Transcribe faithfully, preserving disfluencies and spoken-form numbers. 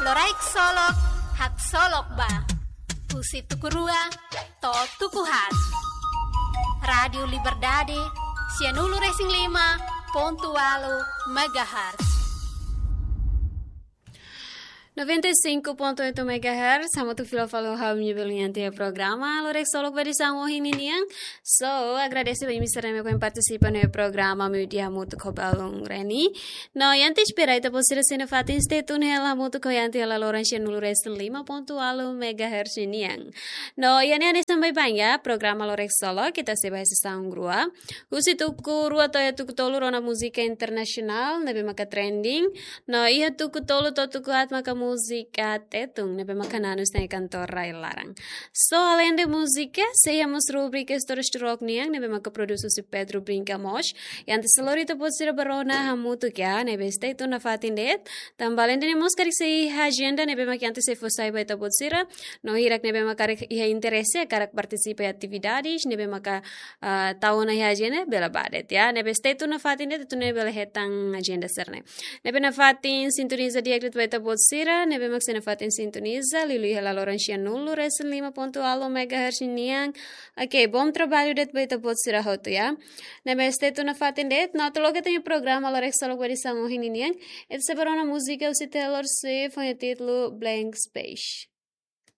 Loraik Solok, haksolok ba. Husi tuku rua to'o tuku haat. Rádiu Liberdade, sianulu-resin-lima pontu ualu megahertz. Noventa e cinco ponto oito megahertz, hamutuk fila fali ho ha'u-nia belun iha programa Loraik Solok ba edisaun ohin ninian. So, agradese ba imi sira ne'ebé ohin partisipa iha programa Meiudia hamutuk ho belun Reni. No, iha ne'e espera ita-boot sira sei nafatin stay tune hela hamutuk ho ita iha loron sianulu-resin-lima pontu ualu megahertz nian. No, iha ne'e hanesan baibain, programa Loraik Solok, ita sei bá iha sesaun rua. Husi tuku rua to'o iha tuku tolu rona múzika internasionál, ne'ebé maka trending. No, iha tuku tolu to'o tuku haat maka múzika Tetun, ne'ebé maka nanus iha kantor rai-laran. So, aleinde múzika, sei iha mós rubrika Istórias Turok nian, ne'ebé maka prodús husi Pedro Brinca Mos. Iha ne'e sei lori ita-boot sira bá rona hamutuk, ne'ebé stay tune nafatin de'it. Tanba aleinde ne'e mós karik sei iha ajenda, ne'ebé maka iha ne'e sei fó sai ba ita-boot sira. No hirak ne'ebé maka karik iha interese, hakarak partisipa iha atividades, ne'ebé maka, ah, tau ona iha ajenda, bele bá de'it, ne'ebé stay tune nafatin de'it, atu nune'e bele hetan ajenda sira-ne'e. Ne'ebé nafatin sintoniza di'ak de'it ba ita-boot sira, ne'ebé mak sei nafatin sintoniza, liuliu iha loron sianulu-resin-lima pontu ualu megahertz nian. Ok, bom trabalho de'it ba ita-boot sira hotu, ya. Ne'ebé stay tune nafatin de'it, no atu loke ita-nia programa Loraik Solok ba edisaun ohin ninian, ita sei bá rona múzika husi Taylor Swift, ho títulu Blank Space.